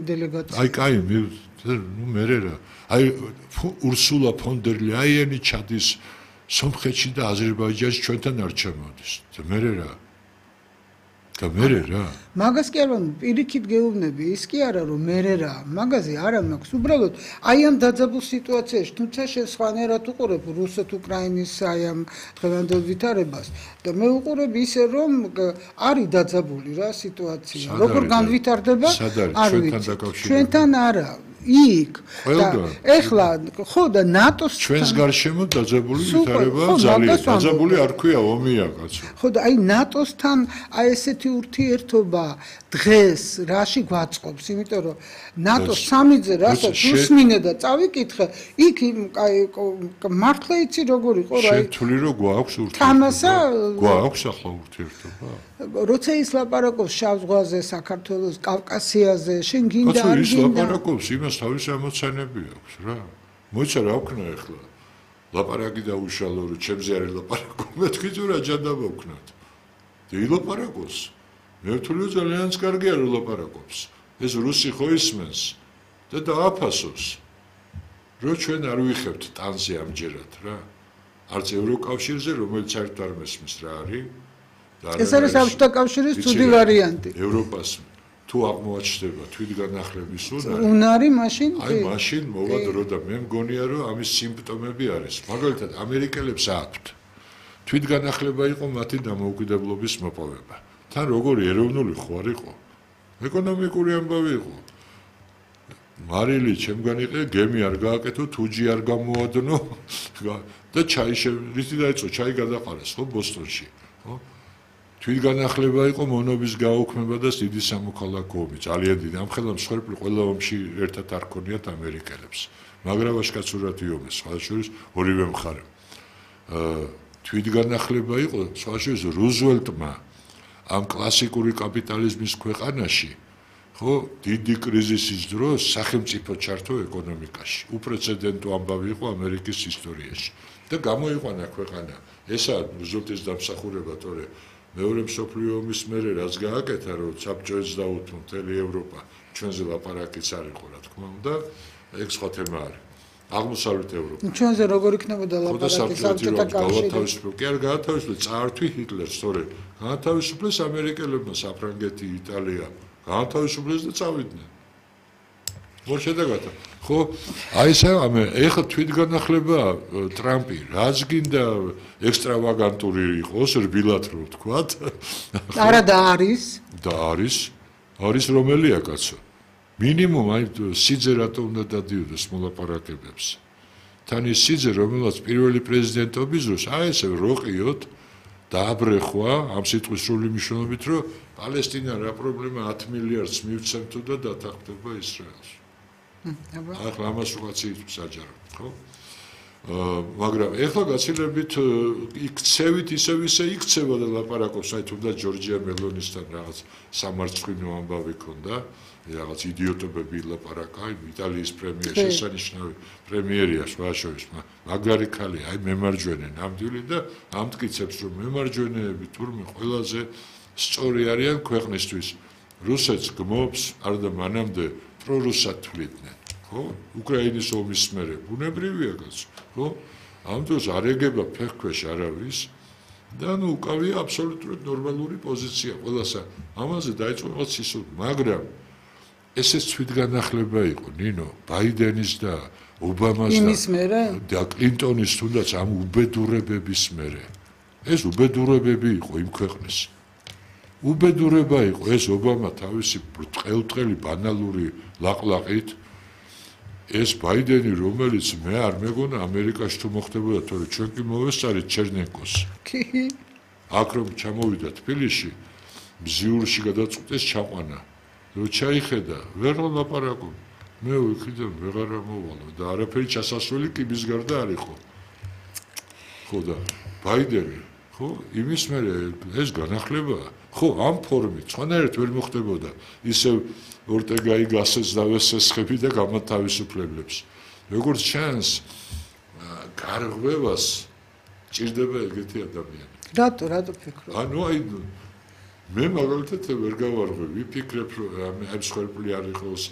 დელეგაცია. აი, კაი, ნუ მერე რა. აი, ურსულა ფონ დერ ლაიენი ჩადის სომხეთში და აზერბაიჯანში ჩვენთან არ ჩამოდის. და მერე რა. და მერე რა. მაგას კი არა, პირიქით გეუბნები, ის კი არა, რომ მერე რა. მაგაზე არა მაქვს. უბრალოდ აი ამ დაძაბულ სიტუაციაში, თუმცა შენ სხვანაირად უყურებ რუსეთ-უკრაინის აი ამ დღევანდელ ვითარებას და მე უყურებ ისე, რომ არის დაძაბული რა სიტუაცია. როგორ განვითარდება? არ ვიცი. ჩვენთან არა. იქ ეხლა ხო და ნატოს ჩვენს გარშემო დაძაბული ვითარება ძალიან დაძაბული არ ქვია ომია კაცო ხო და აი ნატოსთან აი ესეთი ურთიერთობა დღეს რაში გვაწყობს იმიტომ რომ ნატოს სამიძე რასაც უსმინე და წავიკითხე იქ აი მართლა იცი როგორ იყო რა შეთვლი რომ გვაქვს ურთიერთობა გვაქვს ახლა ურთიერთობა როცა ის ლაპარაკობს შავ ზღვაზე საქართველოს კავკასიაზე შენ გინდა არ გინდა ის ლაპარაკობს იმას თავისი ამოცანები აქვს რა მოიცა რა ვქნა ახლა ლაპარაკი დაუშალო რომ ჩემზე არ ლაპარაკო მეთქი თუ რა ჯანდა მოვქნათ და ილაპარაკოს მე ვთვლი ძალიან კარგია რომ ლაპარაკობს ეს რუსი ხო ისმენს და დააფასოს რომ ჩვენ არ ვიხებთ ტანზე ამჯერად რა არც ევროკავშირზე რომელიც საერთოდ არ მესმის რა არის ეს არის საბჭოთა კავშირის ცუდი ვარიანტი ევროპას თუ აღმოაჩნდება თვითგანახლების უნარი მაშინ აი მაშინ მოვა დრო და მე მგონია რომ ამის სიმპტომები არის მაგალითად ამერიკელებს აქვთ თვითგანახლება იყო მათი დამოუკიდებლობის მოპოვება თან როგორი ეროვნული ხო არ იყო ეკონომიკური ამბავი იყო მარილი ჩემგან იყე გემი არ გააკეთო თუჯი არ გამოადნო და ჩაი რითი დაიწყო ჩაი გადაყარეს ხო ბოსტონში ხო თვითგანახლება იყო მონობის გაუქმება და დიდი სამოქალაქო ომი ძალიან დიდი ამ ხელამ მსხვერპლი ყველა ომში ერთად არ ქონიათ ამერიკელებს მაგრამ ვაშკაცურად იომეს სხვაშორის ორივე მხარე თვითგანახლება იყო სხვაშორის რუზველტმა ამ კლასიკური კაპიტალიზმის ქვეყანაში ხო დიდი კრიზისის დროს სახელმწიფო ჩართო ეკონომიკაში უპრეცედენტო ამბავი იყო ამერიკის ისტორიაში და გამოიყვანა ქვეყანა ესაა რუზველტის დამსახურება თორე მეორე მსოფლიო ომის მერე რაც გააკეთა რომ საბჭოებს დაუთმო მთელი ევროპა ჩვენზე ლაპარაკიც არ იყო რა თქმა უნდა ეგ სხვა თემა არის აღმოსავლეთ ევროპა ჩვენზე როგორ იქნებოდა ლაპარაკი საბჭოთა კავშირში კი არ გაათავისუფლეს წაართვი ჰიტლერს თორე გაათავისუფლეს ამერიკელებმა საფრანგეთი იტალია გაათავისუფლეს და წავიდნენ მო შედეგად ხო აი ეს ეხლა თვითგანახლება ტრამპი რაც გინდა ექსტრავაგანტური იყოს რბილად რო ვთქვათ არა და არის რომელია კაცო მინიმუმ აი სიძე რატო უნდა დადიოდეს მოლაპარაკებებს თან ის სიძე რომელსაც პირველი პრეზიდენტობის დროს აი ესე როყიოთ დააბრეხვა ამ სიტყვის სრული მნიშვნელობით რომ პალესტინა რა პრობლემა 10 მილიარდს მივცემ თუ და დათანხმდება ისრაელში ახლა ამას უღაც საჯარო ხო მაგრამ ეხლა გაცილებით იქცევით ისევ იქცევა და ლაპარაკობს აი თუნდაც ჯორჯია მელონისთან რაღაც სამარცხვინო ამბავი ქონდა რაღაც იდიოტობები ლაპარაკა იტალიის პრემიერ შესანიშნავი პრემიერია შუაშორის მაგარი ქალი აი მემარჯვენე ნამდვილი და ამტკიცებს რომ მემარჯვენეები თურმე ყველაზე სწორი არიან ქვეყნისთვის რუსეთს გმობს არ და მანამდე პრორუსად თვლიდნენ ხო უკრაინის ომის მერე ბუნებრივია კაცო ხო ამ დროს არ ეგება ფეხქვეშ არავის და ნუ უკავია აბსოლუტურად ნორმალური პოზიცია ყველასა ამაზე დაიწყო რაღაც სისული მაგრამ ესეც თვითგანახლება იყო ნინო ბაიდენის და ობამას და კლინტონის თუნდაც ამ უბედურებების მერე ეს უბედურებები იყო იმ ქვეყნის უბედურება იყო ეს ობამა თავისი ბრტყელი ბანალური ლაყლაყით ეს ბაიდენი რომელიც მე არ მეგონა ამერიკაში თუ მოხდებოდა თორე ჩვენ კი მოვესწარით ჩერნენკოს კი აქ რომ ჩამოვიდა თბილისში მზიურში გადაწყვეტეს ჩაყვანა რო ჩაიხედა ვერ ლაპარაკო მე ვიქიდან ვეღარ მოვალო და არაფერი ჩასასვლელი კიბის გარდა არ იყო ხო და ბაიდენი ხო იმის მერე ეს განახლებაა ხო ამ ფორმით სხვანაირად ვერ მოხდებოდა ისევ ორტეგაი გასეს დავესესხები და გამათავისუფლებლებს როგორც ჩანს გარღვევას ჭირდება ეგეთი ადამიანი რატო ფიქრობ ანუ აი მე მაგალითად ვერ გავარღვევ ვიფიქრებ რომ ამ მსხვერპლი არ იყოს